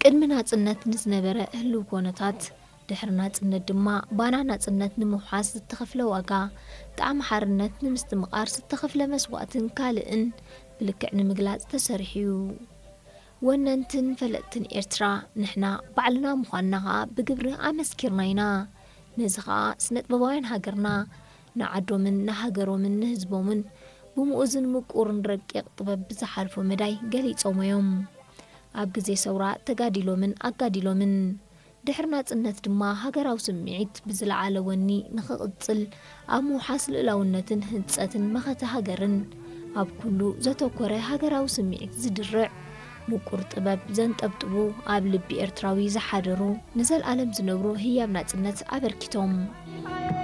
ቅድሚ ናጽነት ንዝነበረ ህልው ኮነታት፣ ድሕሪ ናጽነት ድማ ባና ናጽነት ንምውሓስ ዝተኸፍለ ዋጋ፣ ጣዕሚ ሓርነት ንምስትምቓር ዝተኸፍለ መስዋእትን ካልእን ብልክዕ ንምግላጽ ተሰሪሑ እዩ። ወነንትን ፈለጥትን ኤርትራ ንሕና ባዕልና ምዃንና ኸኣ ብግብሪ ኣመስኪርና ኢና። ነዚ ኸኣ ስነጥበባውያን ሃገርና ንዓዶምን ንሃገሮምን ንህዝቦምን ብምኡዝን ምቁርን ረቂቕ ጥበብ ብዝሓልፎ መዳይ ገሊጾሞ እዮም። ኣብ ግዜ ሰውራ ተጋዲሎምን ኣጋዲሎምን። ድሕሪ ናጽነት ድማ ሃገራዊ ስምዒት ብዝለዓለ ወኒ ንኽቕጽል ኣብ ምውሓስ ልእላውነትን ህንጸትን መኸተ ሃገርን ኣብ ኩሉ ዘተኮረ ሃገራዊ ስምዒት ዝድርዕ ምቁር ጥበብ ዘንጠብጥቡ ኣብ ልቢ ኤርትራዊ ዝሓደሩ ንዘልኣለም ዝነብሩ ህያብ ናጽነት ኣበርኪቶም።